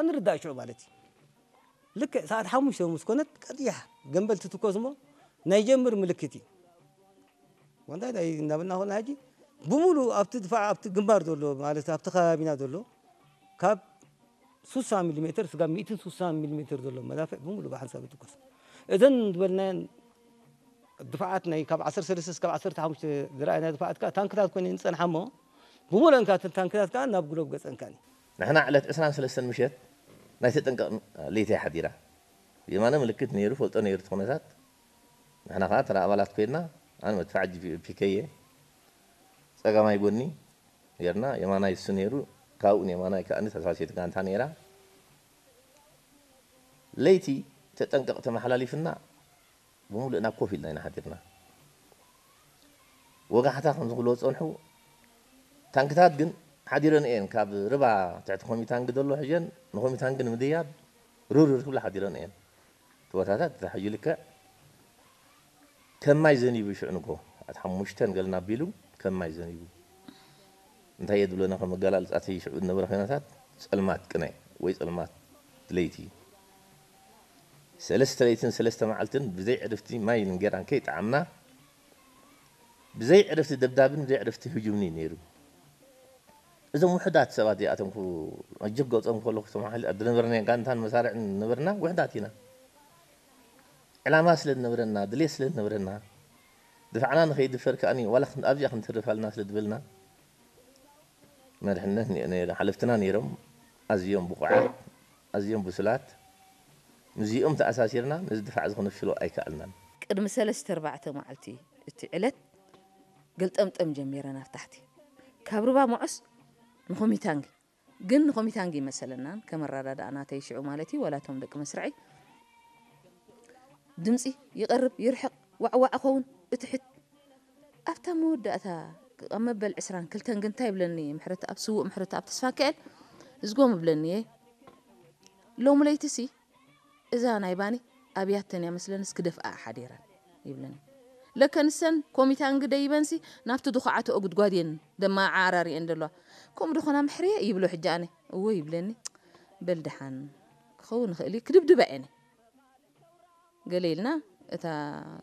ንርዳእ ሽዑ ማለት እዩ። ልክዕ ሰዓት ሓሙሽተ ምስ ኮነት ቀጥያ ገንበል ትትኮስ እሞ ናይ ጀምር ምልክት እዩ። ወንታይ ናይ እናበልና ኾና ሕጂ ብምሉእ ኣብቲ ድፋዕ ኣብቲ ግንባር ዘሎ ማለት ኣብቲ ከባቢና ዘሎ ካብ ስሳ ሚሊ ሜትር ስጋብ ሚእትን ስሳን ሚሊ ሜትር ዘሎ መዳፍዕ ብምሉእ ብሓንሳብ ይትኮስ። እዘን ዝበልናየን ድፋዓት ናይ ካብ ዓሰርተ ሰለስተ ስጋብ ዓሰርተ ሓሙሽተ ዝረኣየና ድፋዓት ከዓ ታንክታት ኮይነን ዝጸንሓ እሞ ብምሉእን ከዓ እተን ታንክታት ከዓ ናብ ግሎብ ገጸን ከኣኒ። ንሕና ዕለት ዕስራን ሰለስተን ምሸት ናይ ተጠንቀቕ ለይቲ እያ ሓዲራ። የማነ ምልክት ነይሩ፣ ፈልጦ ነይሩ እቲ ኩነታት። ንሕና ከዓ ተራ ኣባላት ኮይንና፣ ኣነ መድፍዓ ፒ ከ እየ። ጸጋማይ ጎኒ ጌርና፣ የማናይ እሱ ነይሩ፣ ካብኡ ንየማናይ ከኣ ተሳሲት ጋንታ ነይራ። ለይቲ ተጠንቀቕ ተመሓላሊፍና፣ ብምሉእና ኮፍ ኢልና ኢና ሓዲርና። ወጋሕታ ከም ዝብልዎ ዝጸንሑ ታንክታት ግን ሓዲረን እየን። ካብ ርባ ትሕቲ ኮሚታንግ ዘሎ ሕጀን ንኮሚታንግ ንምድያብ ሩርር ክብላ ሓዲረን እየን። እቲ ቦታታት እታ ሕጂ ልክዕ ከም ማይ ዘኒቡ ሽዑ ንግሆ ሰዓት ሓሙሽተ ገልና ኣቢሉ ከም ማይ ዘኒቡ። እንታይ እየ ዝብለና ከም ኣገላልጻ እቲ ሽዑ ዝነበረ ኩነታት ጸልማት ቅነ ወይ ጸልማት ለይቲ። ሰለስተ ለይትን ሰለስተ መዓልትን ብዘይ ዕርፍቲ ማይን እንጌራን ከይጠዓምና ብዘይ ዕርፍቲ ደብዳብን ብዘይ ዕርፍቲ ህጁምን እዩ ነይሩ። እዞም ውሑዳት ሰባት እዚኣቶም ክቡ መጀብ ገጾም ከለኹ እቶም ሓይሊ ዝነበርና ጋንታን መሳርዕን ዝነበርና ውሑዳት ኢና። ዕላማ ስለ ዝነበረና፣ ድሌት ስለ ዝነበረና፣ ድፋዕና ንኸይድፈር ከኣኒ ዋላ ክን-፣ ኣብዚኣ ክንተርፍ ኣለና ስለ ዝበልና፣ መድሕነት ነ-፣ ነ-፣ ሓለፍትና ነይሮም፣ ኣዝዮም ብቑዓት፣ ኣዝዮም ብሱላት። ምስዚኦም ተኣሳሲርና ነዚ ድፋዕ እዚ ክነፍሽሎ ኣይከኣልናን። ቅድሚ ሰለስተ ኣርባዕተ መዓልቲ እቲ ዕለት ገልጠምጠም ጀሚረን ኣብ ታሕቲ። ካብ ሩባ መዖስ ንኾሚታንጊ፣ ግን ንኾሚታንጊ ይመሰለናን ከም ኣረዳድኣ ናተይ ሽዑ ማለት እዩ፣ ዋላ እቶም ደቂ መስርዐይ ድምጺ ይቐርብ ይርሕቕ ዋዕዋዕ ኸውን እትሕት ኣብታ መወዳእታ ኣብ መበል ዕስራን ክልተን ግን እንታይ ይብለኒ ምሕረት ኣብ ስዉእ ምሕረት ኣብ ተስፋ ክእል እዝጎም ይብለኒ እየ ሎሚ ለይትሲ እዛ ናይ ባኒ ኣብያተን እያ መስለንስ ክደፍኣ ሓዲረን ይብለኒ ለከ ንሰን ኮሚታንግ ደይበንሲ ናብቲ ድኹዓትኦ ጉድጓድ እየን ደማዓራሪአን ዘለዋ ከምኡ ድኾና ምሕርየ ይብሎ ሕጂ ኣነ እዎ ይብለኒ በል ደሓን ክኸውን ይኽእል እዩ ክድብድባ እየን ገለ ኢልና እታ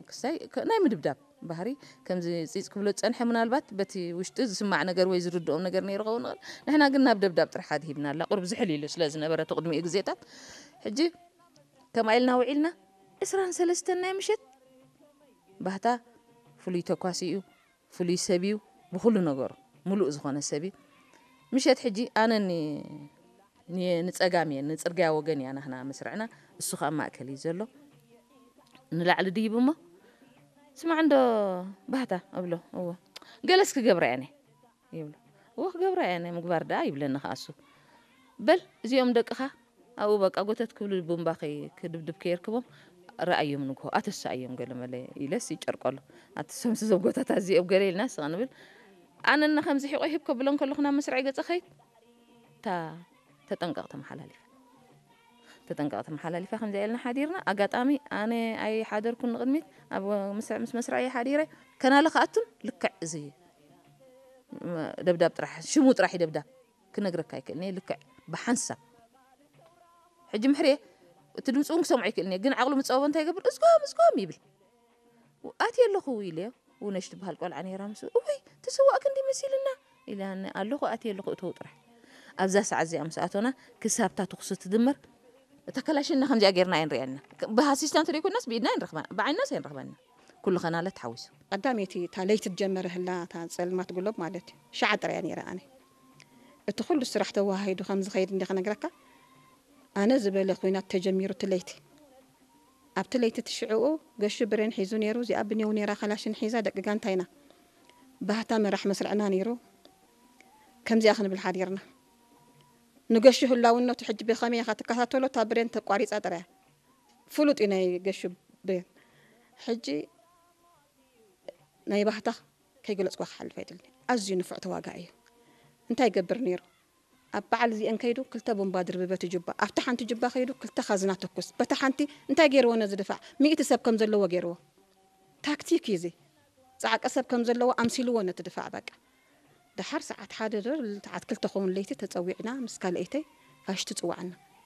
ክስታይ ከ- ናይ ምድብዳብ ባህሪ ከምዚ ፂፅ ክብሎ ዝፀንሐ ምናልባት በቲ ውሽጢ ዝስማዕ ነገር ወይ ዝርድኦም ነገር ነይሩ ኸውን ይኽእል ንሕና ግን ናብ ደብዳብ ጥራሕ ኣድሂብና ኣላ ቁርብ ዝሕል ኢሉ ስለ ዝነበረ እቲ ቅድሚኡ ግዜታት ሕጂ ከምኣ ኢልና ውዒልና ዕስራን ሰለስተን ናይ ምሸት ባህታ ፍሉይ ተኳሲ እዩ ፍሉይ ሰብ እዩ ብኩሉ ነገሩ ሙሉእ ዝኾነ ሰብ እዩ ምሸት ሕጂ ኣነ ኒ- ኒ- ንፀጋም እየ ንፅርግያ ወገን እያ ናህና መስርዕና እሱ ከዓ ማእከል እዩ ዘሎ ንላዕሊ ድይብ እሞ ስማዕ እንዶ ባህታ እብሎ እዎ ገለስ ክገብራ እየ ይብሎ እዎ ክገብራ እየ ምግባር ደኣ ይብለኒ ከዓ እሱ በል እዚኦም ደቅኻ ኣብኡ በቃ ጎተት ክብሉ ቡምባ ከይ- ክድብድብ ከየርክቦም ረኣዮም ንግሆ ኣተሳኣዮም ገለ መለ ኢለስ ይጨርቀሉ ኣተሰምስ እዞም ጎተታት እዚኦም ገለ ኢልና ስቕ ንብል ኣነና ከምዚ ሒቆ ይህብ ከብሎ እንከለኹ ናብ መስርዐይ ገጸ ኸይድ እታ ተጠንቀቕ ተመሓላሊፋ ተጠንቀቕ ተመሓላሊፋ ከምዚኣ ኢልና ሓዲርና ኣጋጣሚ ኣነ ኣይሓደርኩን ንቕድሚት ኣብ መስርዕ ምስ መስርዐይ ሓዲረ ከናለ ክኣቱን ልክዕ እዚ ደብዳብ ጥራሕ ሽሙ ጥራሕ እዩ ደብዳብ ክነግረካ ኣይክእልን እየ ልክዕ ብሓንሳብ ሕጂ ምሕርየ እቲ ድምፂ እውን ክሰምዖ ኣይክእልን እየ ግን ዓቕሉ ምፀበቦ እንታይ ይገብር እዝጎም እዝጎም ይብል ኣትየ ኣለኹ ኢለዮ ውነሽ ትበሃል ቆልዓ ነይራ ምስ እወይ ተሰዋእ ክንዲ መሲልና ኢላኒ ኣለኹ ኣትየ ኣለኹ እተው ጥራሕ ኣብዛ ሰዓት እዚኣ ምስ ኣቶና ክሳብታ ትኩስ ትድመር እታ ከላሽና ከምዚኣ ጌርና ኣይንሪኣና ብኣሲስታንት ደይኮናስ ብኢድና ኣይንረኽበና ብዓይናስ ኣይንረኽበና ኩሉ ኸናለ ተሓዊሱ ቀዳመይቲ እታ ለይቲ ትጀመረ ህላ እታ ጸልማት ጉሎብ ማለት እዩ ሸዓ ጥራያ ነይረ ኣነ እቲ ኩሉ ስራሕ ተወሃሂዱ ከም ዝኸይድ እንዲ ክነግረካ ኣነ ዝበለ ኩናት ተጀሚሩ እቲ ለይቲ ኣብቲ ለይቲ እቲ ሽዕኡ ገሹ ብሬን ሒዙ ነይሩ እዚኣ ብኔው ነይራ ካላሽን ሒዛ ደቂ ጋንታ ኢና ባህታ መራሕ መስርዕና ነይሩ ከምዚኣ ክንብል ሓዲርና ንገሹ ህላውነቱ ሕጂ ብኸመይ ኢኻ ትከታተሎ እታ ብሬን ተቋሪፃ ጥራያ ፍሉጥ እዩ ናይ ገሹ ብሬን ሕጂ ናይ ባህታ ከይገለፅኳ ክሓልፍ ኣይደልን ኣዝዩ ንፉዕ ተዋጋኢ እዩ እንታይ ይገብር ነይሩ ኣብ በዓል እዚአን ከይዱ ክልተ ቡምባ ድርብበት ጁባ ኣብቲ ሓንቲ ጁባ ከይዱ ክልተ ካዝና ተኩስ በታ ሓንቲ እንታይ ገይርዎ ነዚ ድፋዕ ሚእቲ ሰብ ከም ዘለዎ ገይርዎ ታክቲክ እዩ እዚ ፃዕቂ ሰብ ከም ዘለዎ ኣምሲልዎ ነቲ ድፋዕ በቃ ደሓር ሰዓት ሓደ ዶ ሰዓት ክልተ ኸውን ለይቲ ተፀዊዕና ምስ ካልአይተይ ፋሽቲ ፅዋዕና